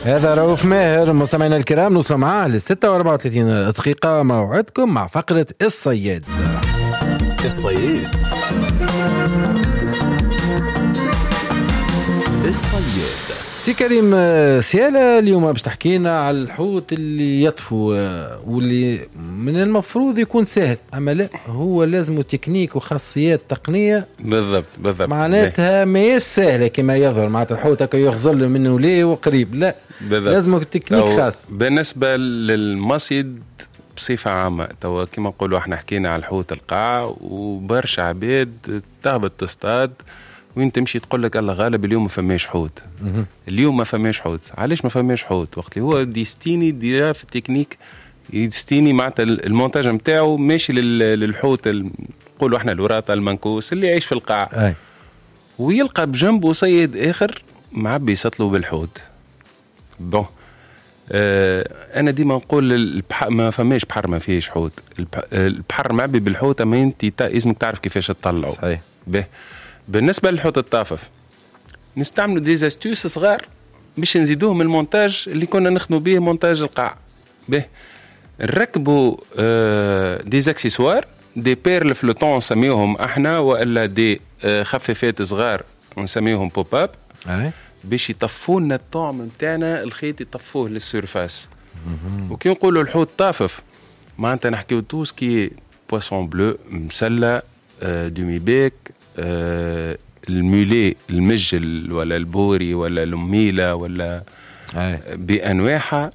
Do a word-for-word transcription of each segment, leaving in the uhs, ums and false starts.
هذا رؤوف ماهر. مستمعينا الكرام، نوصل معاه ل ستة وأربعة وثلاثين دقيقة، موعدكم مع فقرة الصياد. الصياد الصياد. سي كريم سيالة، اليوم باش تحكينا على الحوت اللي يطفو واللي من المفروض يكون سهل، اما لا، هو لازم تكنيك وخاصيات تقنية. بالضبط بالضبط، معناتها ماهيش سهلة كما يظهر، معناتها الحوت هكا يغزل منه ليه وقريب، لا لازم تكنيك خاص. بالنسبة للمصيد بصفة عامة توا كما نقولوا احنا حكينا على الحوت القاع، وبرشا عباد تهبط تصطاد وين تمشي تقول لك الله غالب اليوم ما فماش حوت. اليوم ما فماش حوت. علاش ما فماش حوت؟ وقت اللي هو destiné déjà في ال technique، destiné معناتها المونتاج نتاعو ماشي للحوت، نقولوا احنا الوراطه المنكوس اللي يعيش في القاع. أي. ويلقى بجنبه صيد اخر معبي سطله بالحوت. bon آه انا ديما نقول البحر ما فماش بحر ما فيهش حوت، البحر معبي بالحوت، اما انت لازمك تعرف كيفاش تطلعه. صحيح. به بالنسبة للحوت الطافف نستعملوا des astuces صغار باش نزيدوهم المونتاج اللي كنا نخدموا به مونتاج القاع. به نركبوا آه des accessoires، des perles flottantes نسميوهم احنا، والا des آه خفافات صغار نسميوهم pop-up، باش يطفوا لنا الطعم نتاعنا، الخيط يطفوه لل surface. وكي نقولوا الحوت طافف معناتها نحكيو tout ce qui est poisson bleu، مسله، آه demi-bec، آه ال mulet المجل ولا البوري ولا الميلة ولا أي. بأنواعها.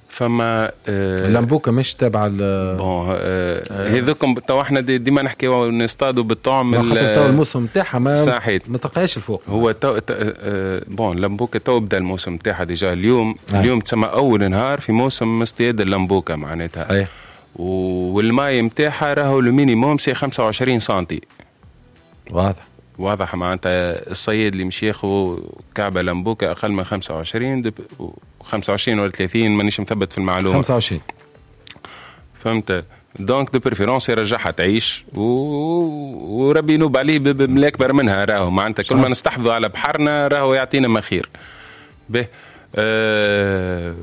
فما آه اللمبوكة مش تابعة bon آه هذوكم تو احنا دي ديما نحكيو نصطادوا بالطعم، خاطر تو الموسم نتاعها ما ما تلقاهاش الفوق. هو تو آه bon اللمبوكة تو بدا الموسم نتاعها déjà اليوم. أي. اليوم تسمى أول نهار في موسم اصطياد اللمبوكة معناتها. صحيح. والماء نتاعها راهو le minimum c'est خمسة وعشرين سنتي. واضح واضح، معناتها الصياد اللي مش ياخذ كعبه لمبوكه اقل من خمسة وعشرين خمسة وعشرين ولا ثلاثين، مانيش مثبت في المعلومة. خمسة وعشرين فهمت. donc de préférence يرجعها تعيش و... وربي ينوب عليه بملاك اكبر منها. راهو معناتها كل ما نستحفظوا على بحرنا راهو يعطينا ما خير. به آه...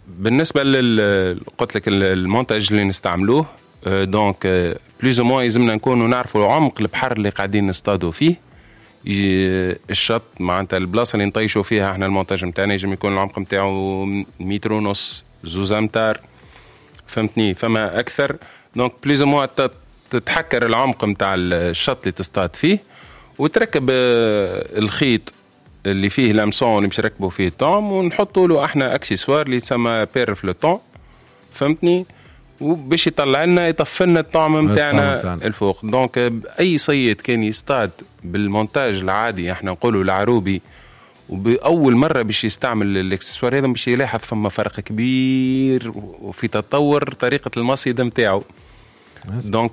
بالنسبة لل قلت لك المونتاج اللي نستعملوه donc plus ou moins يلزمنا نكونوا نعرفوا عمق البحر اللي قاعدين نصطادوا فيه، الشط معناتها البلاصة اللي نطيشوا فيها احنا المونتاج نتاعنا يجم يكون العمق نتاعو متر ونص، زوز امتار، فهمتني، فما اكثر. donc plus ou moins تتحكر العمق نتاع الشط اللي تصطاد فيه، وتركب الخيط اللي فيه l'hameçon اللي باش نركبوا فيه الطعم، ونحطوا له احنا اكسسوار اللي يتسمى perle flottante، فهمتني، وباش يطلع لنا يطفي لنا الطعم نتاعنا الفوق. donc اي صيد كان يصطاد بالمونتاج العادي احنا نقولوا العروبي، وباول مرة باش يستعمل الاكسسوار هذا باش يلاحظ فما فرق كبير وفي تطور طريقه المصيد نتاعو. donc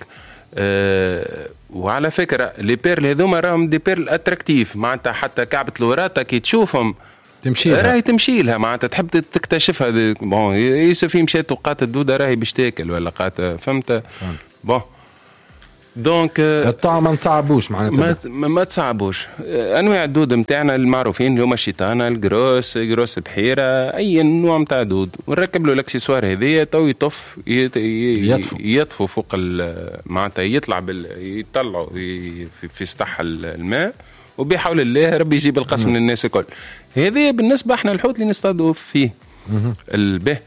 آه وعلى فكرة les perles هذوما راهم des perles attractives، معناتها حتى كعبه الوراطه كي تشوفهم تمشي لها، راهي تمشي لها، معناتها تحب تكتشفها. bon يوسف مشات وقات الدودة راهي باش تاكل ولا قات، فهمت. bon donc الطعم ما نصعبوش معناتها، ما, ما تصعبوش. انواع الدود نتاعنا المعروفين اللي هما الشيطانه، ال grosse grosse بحيرة، اي نوع نتاع دود، ونركب له الاكسسوار هذيا تو يطف يطفو يطفو فوق معناتها يطلع بال... يطلعوا في, في سطح الماء، وبحول الله ربي يجيب القسم للناس الكل. هذه بالنسبة احنا الحوت اللي نصطادوا فيه البه.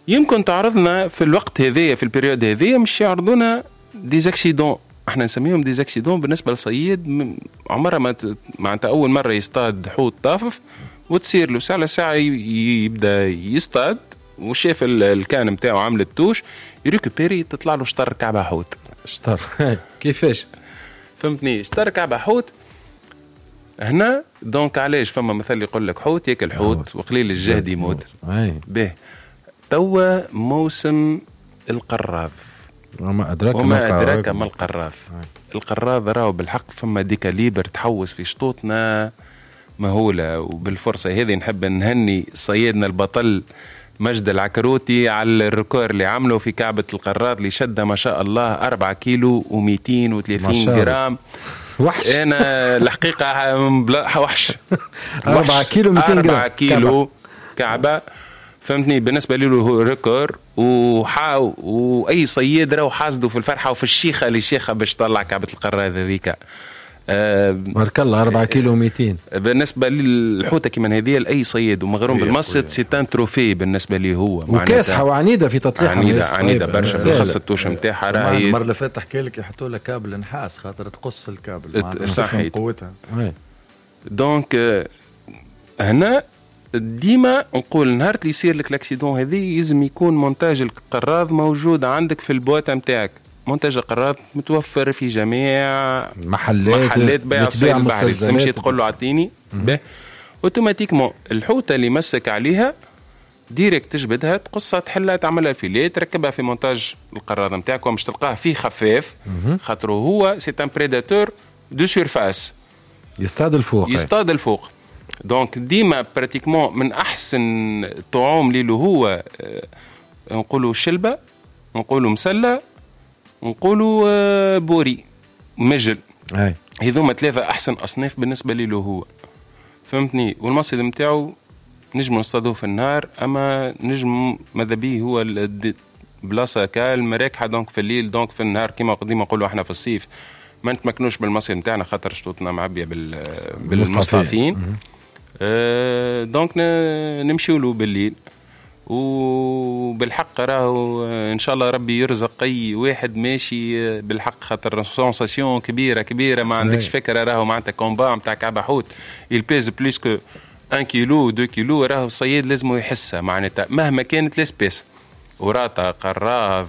يمكن تعرضنا في الوقت هذايا في ال période هذايا مش يعرضونا des accidents، احنا نسميهم des accidents. بالنسبة للصياد عمرها ما معناتها اول مرة يصطاد حوت طافف وتصير له ساعة ساعة يبدا يصطاد وشاف ال canne نتاعو عملت touche، يريكوبيري تطلع له شطر كعبه حوت. شطر كيفاش؟ فهمتني، شطر كعبه حوت هنا. donc علاش فما مثل يقول لك حوت ياكل حوت وقليل الجهد يموت. به توا موسم القراض، وما أدراك وما أدراك ما القراض. القراض راهو بالحق فما des calibres تحوس في شطوطنا مهولة. وبالفرصة هذه نحب نهني صيادنا البطل مجد العكروتي على ال record اللي عمله في كعبة القراض اللي شدها ما شاء الله أربعة كيلو ومئتين وثلاثين جرام. وحش. أنا الحقيقة وحش. أربعة كيلو مئتين جرام. أربعة كيلو كعبه فهمتني بالنسبة له record، وحا واي صياد راهو حاسده في الفرحة وفي الشيخه اللي شيخه باش تطلع كعبه القراض هذيك. بارك الله أربعة كيلو مئتين. بالنسبة للحوته كيما هذه لاي صياد ومغروم بالمصيد c'est un trophée بالنسبة لي هو، وكاسحه وعنيده في تطليعها، عنيدة عنيدة برشا بالخاص ال touche نتاعها. راهي المرة اللي فاتت حكى لك يحطوا لها كابل نحاس خاطر تقص الكابل صحيح قوتها. donc هنا ديما نقول نهار اللي يصير لك l'accident هذه لازم يكون مونتاج القراض موجود عندك في ال boîte نتاعك. مونتاج القراض متوفر في جميع محلات محلات بيع الصيد البحري، تمشي تقول له اعطيني به automatiquement الحوته اللي مسك عليها direct تجبدها تقصها تحلها تعملها filet تركبها في مونتاج القراض نتاعك، ومش تلقاه فيه خفاف خاطر هو c'est un prédateur de surface، يصطاد الفوق يصطاد الفوق. donc ديما pratiquement من احسن الطعام اللي هو نقولوا شلبه، نقولوا مسله، نقولوا بوري مجل، هذوما ثلاثة احسن اصناف بالنسبة لي هو فهمتني. والمصيد نتاعو نجم نصطادوه في النهار، اما نجم ماذا بيه هو بلاصة calme راكحه donc في الليل donc في النهار كيما ديما نقولوا احنا في الصيف ما نتمكنوش بالمصيد نتاعنا خاطر شطوطنا معبيه بال بالمصطافين، أه donc نمشيو له بالليل. وبالحق راهو ان شاء الله ربي يرزق اي واحد ماشي بالحق، خاطر sensation كبيرة كبيرة ما عندكش فكرة. راهو معناتها combat نتاع كعبه حوت il pèse plus que واحد كيلو اثنين كيلو، راهو الصياد لازم يحسها معناتها مهما كانت l'espèce، وراطة قراض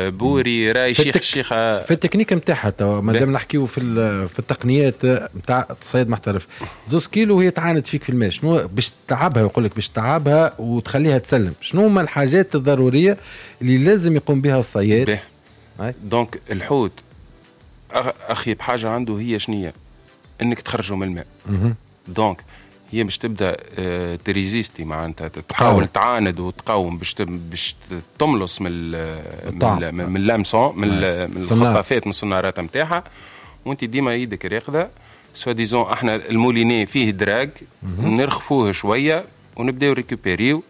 بوري راي شيخ الشيخة. في التكنيك نتاعها توا مادام نحكيو في في التقنيات نتاع الصيد محترف، زوز كيلو هي تعاند فيك في الماء، شنو باش تعبها؟ يقول لك باش تعبها وتخليها تسلم، شنو هما الحاجات الضرورية اللي لازم يقوم بها الصياد؟ donc الحوت اخي بحاجة عنده هي شنية؟ انك تخرجه من الماء. donc هي باش تبدا ت résister معناتها تحاول تعاند وتقاوم باش باش تملص من من من l'hameçon من الخطافات من الصنارات نتاعها، وانت ديما يدك راقده. soi-disant احنا ال moulinet فيه drag نرخفوه شوية ونبداو récupérer يو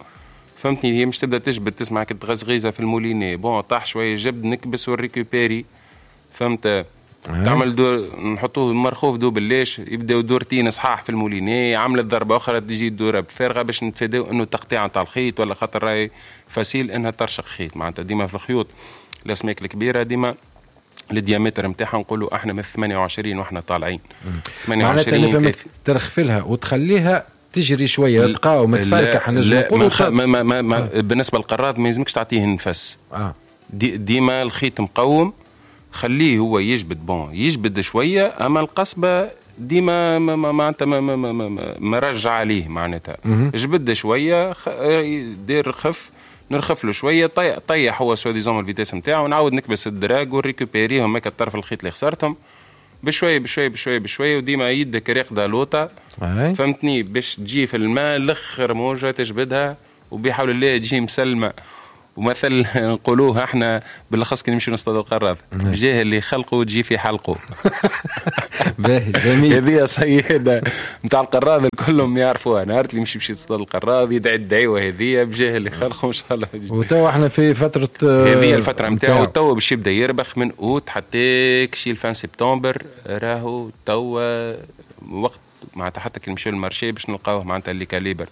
فهمتني. هي مش تبدا تجبد تسمع كتغزغيزه في ال moulinet، bon طاح شوية جبد نكبس ون récupérer فهمت. تعمل دور نحطوه مرخوف double lèche يبداو دورتين صحاح في ال moulinet، عملت ضربه اخرى تجي الدورة بفارغه باش نتفاداو انه تقطيع نتاع الخيط ولا خاطر راهي facile انها ترشق خيط معناتها. ديما في الخيوط الاسماك الكبيرة ديما ال diamètre نتاعها نقولوا احنا من ثمانية وعشرين واحنا طالعين ثمانية وعشرين. ترخفلها وتخليها تجري شوية تقاوم تفركح نجم نقولوا. ما ما ما ما بالنسبة للقراض ما يلزمكش تعطيه النفس. آه. دي ديما الخيط مقوم خليه هو يجبد، bon يجبد شوية، اما القصبة ديما معناتها مرجع عليه معناتها. جبد شوية دير خف نرخف له شوية طيح, طيح هو soi-disant ال vitesse نتاعو، ونعاود نكبس ال drag ون récupérer هم هكا الطرف الخيط اللي خسرتهم بشوية بشوية بشوية بشوية، وديما يدك راقده لوطه فهمتني باش تجي في الماء الاخر موجه تجبدها وبحول الله تجي مسلمة. ومثل نقولوه احنا بالاخص كي نمشيو نصطادوا القراض، بجاه اللي خلقه تجي في حلقة. باهي جميل. هذه صياده نتاع القراض كلهم يعرفوها، نهار اللي يمشي باش يصطاد القراض يدعي الدعوة هذه بجاه اللي خلقه ان شاء الله. وتوا احنا في فترة هذه الفترة نتاعو تو باش يبدا يربخ من اوت حتى كشي fin septembre، راهو توا وقت معناتها حتى كي نمشيو لل marché باش نلقاوه معناتها les calibres.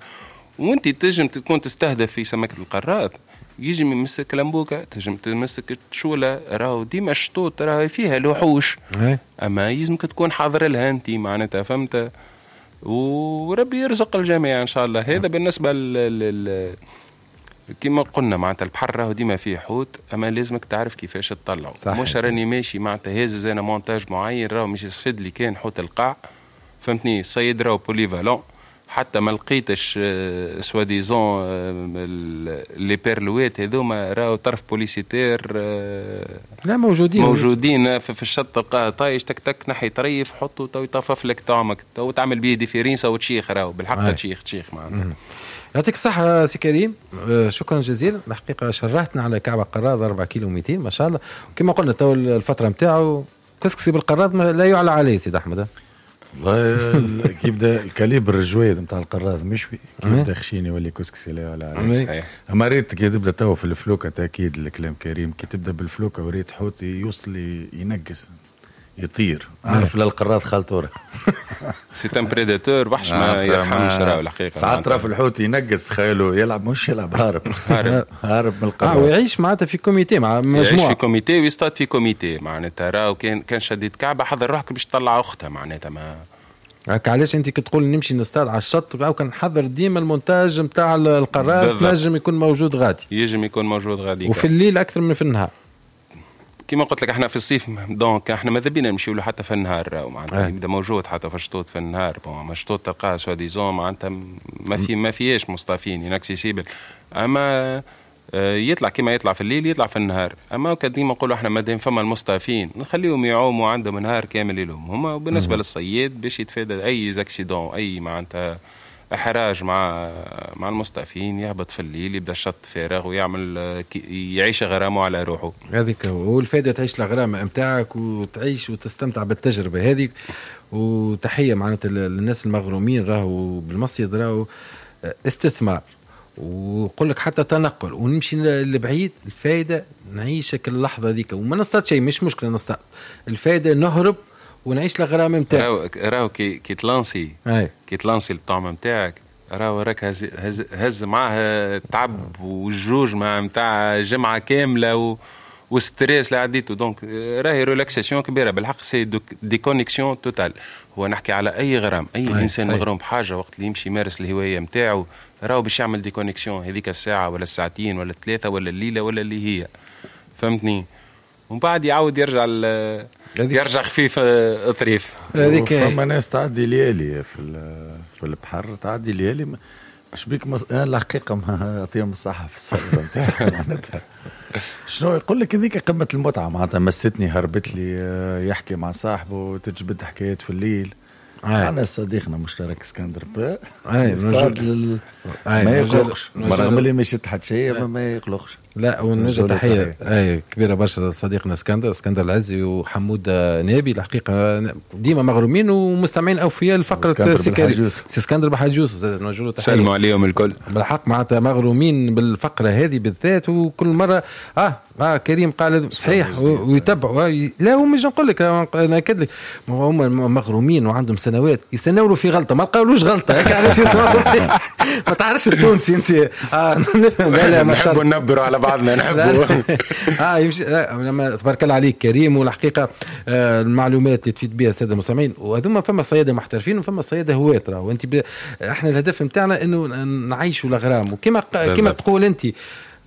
وانت تنجم تكون تستهدف في سمكة القراض، يجم يمسك لمبوكة، تنجم تمسك تشولة، راهو ديما الشطوط راهي فيها لوحوش، اما يلزمك تكون حاضر لها انت معناتها فهمت. وربي يرزق الجميع ان شاء الله. هذا بالنسبة لل كما قلنا معناتها البحر راهو ديما فيه حوت، اما لازمك تعرف كيفاش تطلعه. مش راني ماشي معناتها هازز انا مونتاج معين راهو مش يشد لي كان حوت القاع فهمتني. الصيد راهو polyvalent، حتى ما لقيتش soi-disant les perles هذوما راهو طرف polysétaire لا موجودين موجودين في الشط تلقاه طايش تك تك نحي طريف حطه تو يطفف لك طعمك تو تعمل بيه différence وتشيخ راهو بالحق تشيخ تشيخ معناتها. يعطيك الصحة سي كريم، شكرا جزيلا. الحقيقة شرحتنا على كعبة قراض أربعة كيلو مئتين ما شاء الله. وكما قلنا تو الفترة نتاعو كسكسي بالقراض لا يعلى عليه سيد أحمد. والله كي يبدا ال calibre الجويد نتاع القراض مشوي، كي يبدا خشين يولي كسكسي لا ولا. صحيح. اما ريت كي تبدا توا في الفلوكه، تاكيد الكلام كريم، كي تبدا بالفلوكه وريت حوت يوصل ينقز يطير، عارف للقراض خالتوره. c'est un prédateur، وحش ما يرحمش راهو الحقيقة. ساعات ترى في الحوت ينقز، خياله يلعب، مش يلعب، هارب هارب هارب من القراض. اه ويعيش معناتها في comité مع مجموعة، يعيش في comité ويصطاد في comité معناتها. راهو كان كان شديد كعبه حضر روحك باش تطلع اختها معناتها. ما هكا علاش انت كي تقول نمشي نصطاد على الشط او كنحضر ديما المونتاج نتاع القرار نجم يكون موجود غادي، يجم يكون موجود غادي، وفي الليل اكثر من في النهار. كما قلت لك احنا في الصيف donc احنا ماذا بينا نمشيو له حتى في النهار معناتها، يبدا موجود حتى في الشطوط في النهار. bon مشطوط تلقاه soi-disant معناتها ما في ما فيهاش مصطافين inaccessible، اما يطلع كما يطلع في الليل يطلع في النهار. اما ديما نقولوا احنا مادام فما المصطافين نخليهم يعوموا عندهم نهار كامل لهم هما. وبالنسبة للصياد باش يتفادى اي accident، اي معناتها احراج مع مع المصطافين، يهبط في الليل يبدا الشط فارغ ويعمل يعيش غرامة على روحه. هذيك هو الفائدة، تعيش الغرامة نتاعك وتعيش وتستمتع بالتجربة هذيك. وتحية معناتها للناس المغرومين راهو بالمصيد، راهو استثمار وقول لك حتى تنقل ونمشي لبعيد، الفائدة نعيشك اللحظة ذيك وما نصطاد شيء، مش مشكلة نصطاد، الفائدة نهرب ونعيش الغرام نتاعك. راهو راهو كي كي تلانسي كي تلانسي الطعم نتاعك، راهو راك هز, هز, هز معاه تعب والجوج مع نتاع جمعه كاملة و و stress اللي عديته. donc راهي relaxation كبيرة بالحق، c'est déconnexion totale. هو نحكي على اي غرام، اي انسان مغروم بحاجة وقت اللي يمشي يمارس الهواية نتاعو راهو باش يعمل déconnexion هذيك الساعة ولا الساعتين ولا الثلاثة ولا الليلة ولا اللي هي، فهمتني؟ ومن بعد يعاود يرجع يرجع خفيف طريف. هذيك فما ناس تعدي ليالي في في البحر، تعدي ليالي اش بيك مص... انا الحقيقة ما يعطيهم الصحة في الصيد نتاعهم معناتها. شنو يقول لك هذيك قمة المتعة معناتها، مستني هربت لي، يحكي مع صاحبه، تجبد حكايات في الليل. انا صديقنا مشترك اسكندر يصطاد لل... ما يقلقش، رغم اللي ما يشد حتى شيء ما يقلقش. لا ونوجه تحية اي كبيرة برشا صديقنا اسكندر، اسكندر العزي وحمود نابي، الحقيقة ديما مغرومين ومستمعين اوفياء لفقره سكري. اسكندر بحجوز نوجه له تحية، سلموا عليهم الكل بالحق معناتها مغرومين بالفقره هذه بالذات. وكل مرة اه اه كريم قال صحيح ويتبعوا. لا هو مش نقول لك، انا اكد لك هم مغرومين وعندهم سنوات يستناولوا في غلطه ما لقاولوش غلطه هيك علاش يسمعوا. ما تعرفش التونسي انت. آه لا لا ما نحبوا ننبروا على بعضنا نحبوا. اه يمشي لما تبارك الله عليك كريم. والحقيقة آه المعلومات اللي تفيد بها السادة المستمعين، وهذوما فما صياده محترفين وفما صياده هواة راهو. وانت ب... احنا الهدف نتاعنا انه نعيشوا الاغرام، وكما كما تقول انت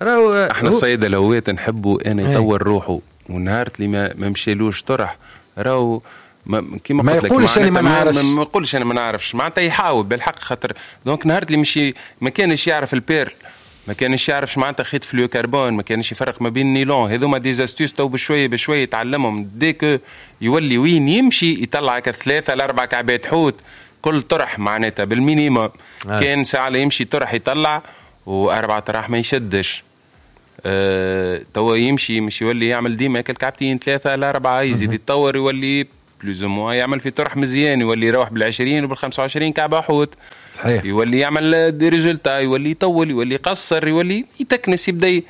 راهو احنا الصياد الهواة نحبوا انا يطور روحه، ونهار اللي ما, ما مشالوش طرح راهو ما كيما ما يقولش انا ما نعرفش، ما يقولش انا ما نعرفش معناتها يحاول بالحق. خاطر donc نهار اللي مشي ما كانش يعرف ال perle، ما كانش يعرف معناتها خيط fluorocarbone، ما كانش يفرق ما بين النيلون، هذوما des astuces تو بشوية بشوية يتعلمهم. dès que يولي وين يمشي يطلع ثلاثة لاربع كعبات حوت كل طرح معناتها بال minimum. آه. كان ساعة يمشي طرح يطلع واربعة طرح ما يشدش. أه توا يمشي مش يولي يعمل ديما كعبتين ثلاثة لاربعة، يزيد يتطور يولي plus ou moins يعمل في طرح مزيان، يولي يروح بالعشرين وبالخمسة وعشرين كعبة حوت. صحيح. يولي يعمل des résultats، يولي يطول، يولي يقصر، يولي يتكنس، يبدا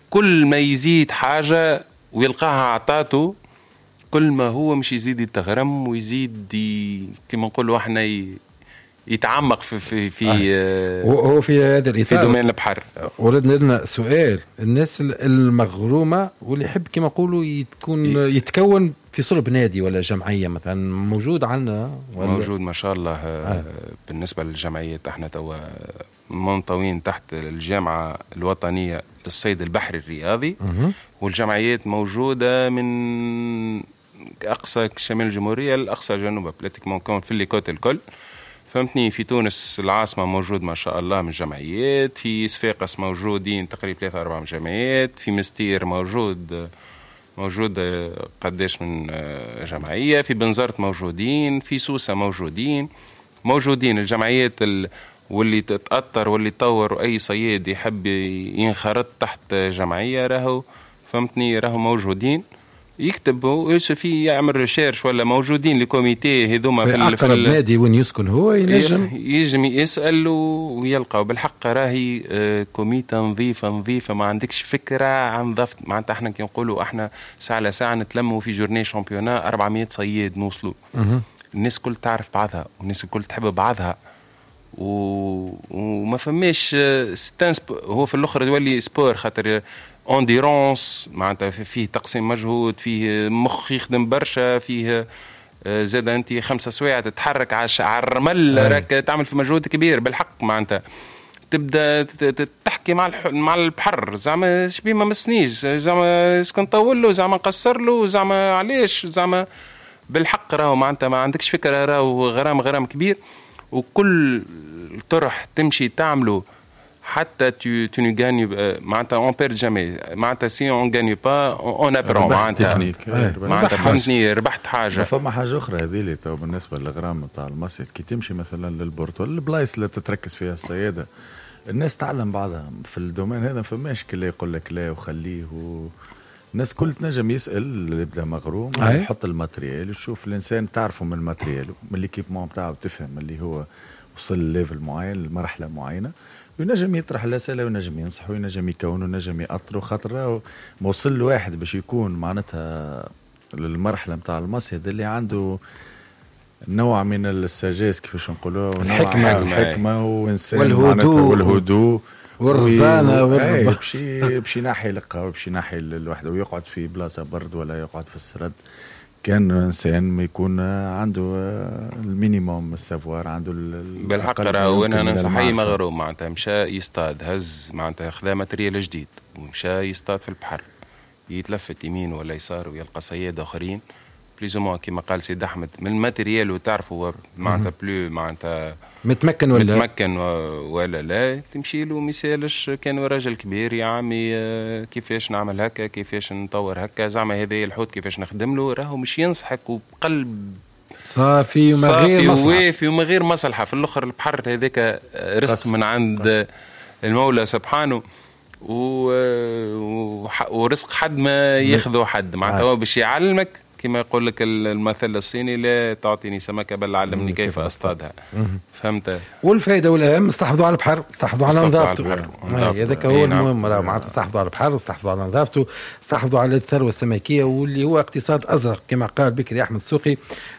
كل ما يزيد حاجة ويلقاها عطاته كل ما هو مش يزيد يتغرم ويزيد ي... كما نقولوا احنا ي... يتعمق في في في آه. هو في هذا الاطار في domaine البحر. وردنا لنا سؤال الناس المغرومه واللي يحب كما نقولوا يتكون يتكون في صلب نادي ولا جمعية مثلا، موجود عندنا ولا؟ موجود ما شاء الله. آه. بالنسبة للجمعيات احنا توا منطوين تحت الجامعة الوطنية للصيد البحري الرياضي. مه. والجمعيات موجودة من اقصى شمال الجمهورية لاقصى جنوبها، pratiquement كون في les côtes الكل، فهمتني. في تونس العاصمة موجود ما شاء الله من جمعيات، في صفاقس موجودين تقريبا ثلاثة أربعة من جمعيات، في مستير موجود موجود قداش من جمعية، في بنزرت موجودين، في سوسة موجودين موجودين الجمعيات ال... واللي تتأثر واللي تطور، وأي صياد يحب ينخرط تحت جمعية راهو، فهمتني، راهو موجودين. يكتب في يعمل recherche ولا موجودين les comités هذوما في, في اقرب نادي وين يسكن هو ينجم ينجم يسال ويلقى. بالحق راهي comité نظيفة نظيفة، ما عندكش فكرة عن نظافة. معناتها احنا كي نقولوا احنا ساعة لساعة نتلموا في journée championnat أربعمية صياد نوصلوا، الناس الكل تعرف بعضها والناس الكل تحب بعضها و... وما فماش ستانس. هو في الاخر يولي sport خاطر endurance، معناتها فيه تقسيم مجهود، فيه مخ يخدم برشا، فيه زاد انت خمسة سوايع تتحرك على الرمل راك تعمل في مجهود كبير بالحق. معناتها تبدا تحكي مع مع البحر، زعما شبيه ما مسنيش، زعما est-ce que نطول له، زعما نقصر له، زعما علاش، زعما بالحق راهو معناتها ما عندكش فكرة، راهو غرام غرام كبير. وكل طرح تمشي تعمله حتى tu tu ne gagnes معناتها on perd jamais، معناتها si on gagne pas on apprend، معناتها معناتها فهمتني، ربحت حاجة. فما حاجة اخرى هذه اللي تو بالنسبة للغرام نتاع المصيد، كي تمشي مثلا للبورتو البلايص اللي تتركز فيها الصياده الناس تعلم بعضها في ال domaine هذا، فماش كل يقول لك لا وخليه و... الناس كل تنجم يسال اللي يبدا مغروم يحط ال matériel يشوف الانسان تعرفه من ال matériel من l'équipement نتاعو تفهم اللي هو وصل ل level معين لمرحلة معينة، وينجم يطرح الاسئلة وينجم ينصح وينجم يكون وينجم يأطر، خاطر ما وصل الواحد باش يكون معناتها للمرحلة نتاع المصيد اللي عنده نوع من ال sagesse كيفاش نقولوها، الحكمة الحكمة وانسان والهدوء والهدوء والرزانه والربا، باش باش ينحي القهوة باش ينحي الوحدة ويقعد في بلاصة برد ولا يقعد في السرد. كان انسان ما يكون عنده ال minimum ال savoir عنده بالحق. راهو انا ننصح اي مغروم معناتها مشى يصطاد، هز معناتها خذا matériel جديد ومشى يصطاد في البحر، يتلفت يمين ولا يسار ويلقى صياد اخرين plus ou moins كيما قال سيد احمد من ال matériel وتعرفوا معناتها plus معناتها متمكن ولا متمكن ولا لا، تمشي له ما يسالش. كان راجل كبير يا عمي كيفاش نعمل هكا، كيفاش نطور هكا، زعما هذا الحوت كيفاش نخدم له، راهو مش ينصحك وبقلب صافي وما غير مصلحة، وافي وما غير مصلحة. في الاخر البحر هذاك رزق من عند المولى سبحانه و... ورزق حد ما ياخذه حد، معناتها هو باش يعلمك كما يقول لك المثل الصيني لا تعطيني سمكة بل علمني كيف أصطادها. فهمت؟ والفائدة والأهم استحفظوا على البحر، استحفظوا على نظافته، هذاك هو المهم. معناتها استحفظوا على البحر واستحفظوا على نظافته، استحفظوا على الثروة السمكية واللي هو اقتصاد أزرق كما قال بكري أحمد السوقي.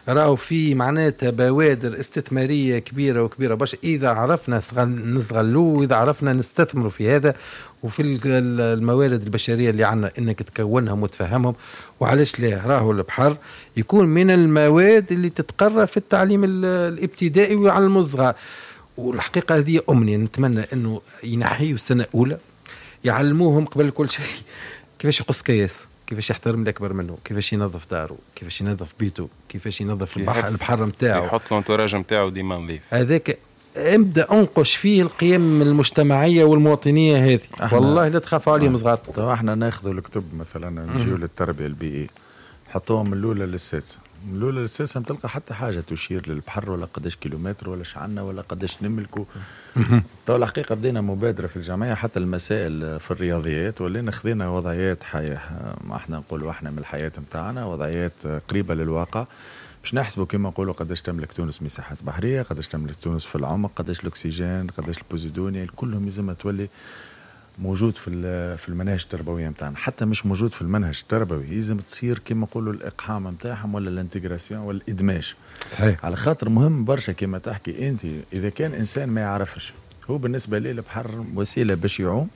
راهو في معناتها بوادر استثمارية كبيرة وكبيرة باش إذا عرفنا نستغلوه وإذا عرفنا نستثمروا في هذا وفي الموارد البشرية اللي عندنا انك تكونهم وتفهمهم. وعلاش لا، راهو البحر يكون من المواد اللي تتقرى في التعليم الابتدائي ويعلموا الصغار. والحقيقة هذه امنية نتمنى انه ينحيوا السنة الاولى يعلموهم قبل كل شيء كيفاش يقص كياس، كيفاش يحترم الاكبر منه، كيفاش ينظف داره، كيفاش ينظف بيته، كيفاش ينظف البحر البحر نتاعو، يحط l'entourage نتاعو ديما نظيف. هذاك ابدا انقش فيه القيم المجتمعية والمواطنيه هذه، والله لا تخاف عليهم صغار. طبعا احنا ناخذوا الكتب مثلا نجيو للتربية البيئية نحطوهم من الاولى للسادسه، من الاولى للسادسه ما تلقى حتى حاجة تشير للبحر ولا قداش كيلومتر ولا شعنا ولا قداش نملكوا. تو الحقيقة بدينا مبادرة في الجمعية حتى المسائل في الرياضيات ولينا خذينا وضعيات حياة، ما احنا نقولوا احنا من الحياة نتاعنا وضعيات قريبه للواقع باش نحسبوا كما نقولوا قداش تملك تونس مساحات بحرية، قداش تملك تونس في العمق، قداش الاكسجين، قداش البوزيدونيا، كلهم لازم تولي موجود في في المناهج التربوية نتاعنا. حتى مش موجود في المنهج التربوي لازم تصير كما نقولوا الاقحام نتاعهم ولا ال intégration ولا الادماج. صحيح، على خاطر مهم برشا كما تحكي انت، اذا كان انسان ما يعرفش هو بالنسبة ليه البحر وسيلة باش يعوم،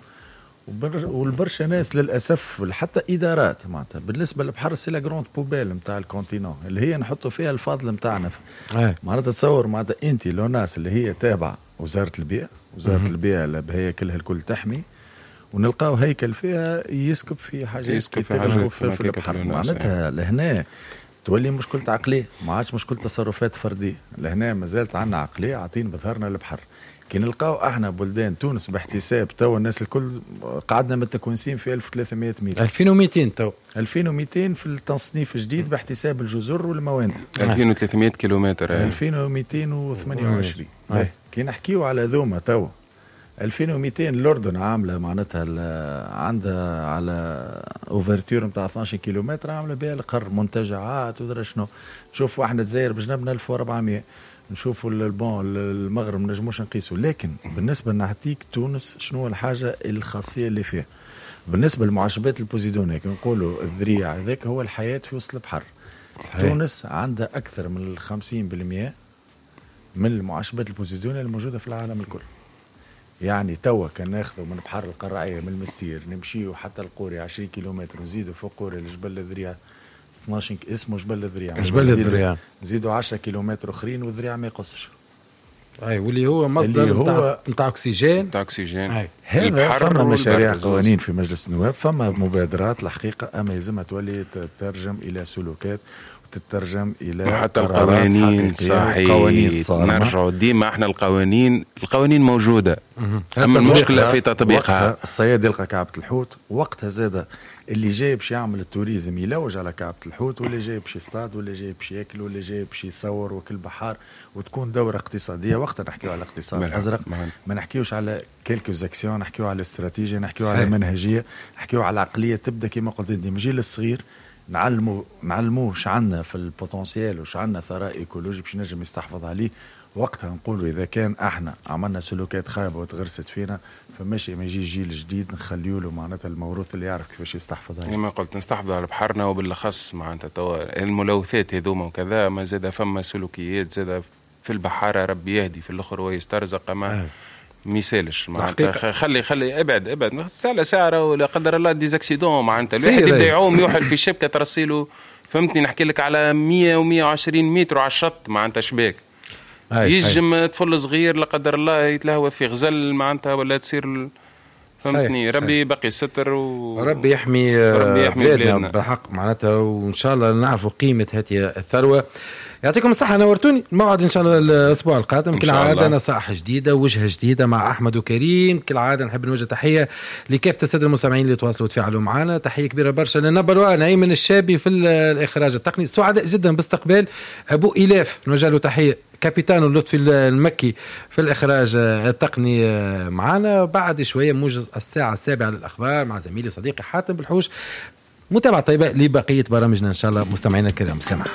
والبرشا ناس للاسف حتى ادارات معناتها بالنسبة للبحر c'est la grande poubelle نتاع ال continent اللي هي نحطوا فيها الفاضل نتاعنا. معناتها تصور معناتها انت l'ONAS اللي هي تابعه وزارة البيئة، وزارة البيئة اللي هي كلها الكل تحمي، ونلقاو هيكل فيها يسكب في حاجات يسكب في حاجات في, في البحر. معناتها لهنا تولي مشكلة عقلية، ما عادش مشكلة تصرفات فردية. لهنا مازالت عندنا عقلية عاطين بظهرنا البحر. كي نلقاو احنا بلدان تونس باحتساب تو الناس الكل قعدنا متكونسين في ألف وثلاثمية متر، ألفين ومئتين تو ألفين ومئتين في التصنيف الجديد باحتساب الجزر والموانئ، ألفين وثلاثمية كيلومتر، ألفين ومئتين وثمانية وعشرين. كي نحكيو على ذوما تو ألفين ومئتين الاردن عامله معناتها عندها على ouverture نتاع اثناش كيلومتر عامله بها القر منتجعات ودرا شنو. نشوفوا احنا الجزائر بجنبنا ألف وأربعمية، نشوفوا ال bon المغرب ما نجموش نقيسوا. لكن بالنسبة نعطيك تونس شنو الحاجة الخاصية اللي فيها بالنسبة للمعشبات البوزيدونيه، كي نقولوا الذريع هذاك هو الحياة في وسط البحر. صحيح. تونس عندها اكثر من خمسين بالمئة من المعشبات البوزيدونيه الموجودة في العالم الكل. يعني توا كان ناخذوا من بحر القراعيه من المسير نمشيو حتى القوري عشرين كيلومتر ونزيدوا فوق قوري لجبل الذريع اثناش، اسمه جبل الذريع، جبل الذريع نزيدوا عشرة كيلومتر اخرين والذريع ما يقصش. اي واللي هو مصدر نتاع نتاع اكسجين، نتاع اكسجين. هذا فما مشاريع قوانين في مجلس النواب، فما مبادرات الحقيقة، اما يلزمها تولي تترجم الى سلوكات وتترجم الى حتى القوانين. صحيح، قوانين صارمة. نرجعوا ديما احنا القوانين، القوانين موجودة، اما المشكلة في تطبيقها. الصياد يلقى كعبه الحوت وقتها زاده اللي جاي باش يعمل ال tourisme يلوج على كعبه الحوت، واللي جاي باش يصطاد، واللي جاي باش ياكل، واللي جاي باش يصور وكل بحار، وتكون دوره اقتصادية. وقتها نحكيو على الاقتصاد الازرق، ما نحكيوش على quelques actions، نحكيو على استراتيجية، نحكيو على منهجيه، نحكيو على عقلية تبدا كما قلت انت من الجيل الصغير، نعلمو نعلموه اش عندنا في ال potentiel وش عندنا ثراء écologique باش نجم يستحفظ عليه. وقتها نقولوا اذا كان احنا عملنا سلوكات خايبة وتغرست فينا، فماشي ما يجي جيل جديد نخليه له معناتها الموروث اللي يعرف كيفاش يستحفظ عليه. كما قلت نستحفظ على بحرنا، وبالاخص معناتها توا الملوثات هذوما وكذا، ما زاد فما سلوكيات زاد في البحارة، ربي يهدي في الاخر ويسترزق، ما ميسالش معناتها. خلي خلي ابعد ابعد ساعة ساعة ولا قدر الله des accidents معناتها الواحد يبدا يعوم يوحل في شبكة ترسيله، فهمتني؟ نحكي لك على مية ومية وعشرين متر على الشط معناتها شباك، يجم طفل صغير لا قدر الله يتلهوث في غزل معناتها ولا تصير، فهمتني؟ ربي بقي الستر و... ربي يحمي ربي يحمي بلادنا, بلادنا بالحق معناتها، وان شاء الله نعرفوا قيمة هذه الثروة. يعطيكم الصحة، نورتوني. الموعد ان شاء الله الاسبوع القادم كالعادة، نصائح جديدة، وجهه جديدة مع احمد وكريم. كالعادة نحب نوجه تحية لكافة السادة المستمعين اللي تواصلوا وتفاعلوا معنا. تحية كبيرة برشا لنبر ايمن الشابي في الاخراج التقني، سعداء جدا باستقبال ابو إلاف، نوجه له تحية، كابيتانو لطفي المكي في الإخراج التقني معنا. بعد شوية موجز الساعة السابعة للأخبار مع زميلي صديقي حاتم بالحوش. متابعة طيبة لبقية برامجنا إن شاء الله مستمعينا الكرام. سمع.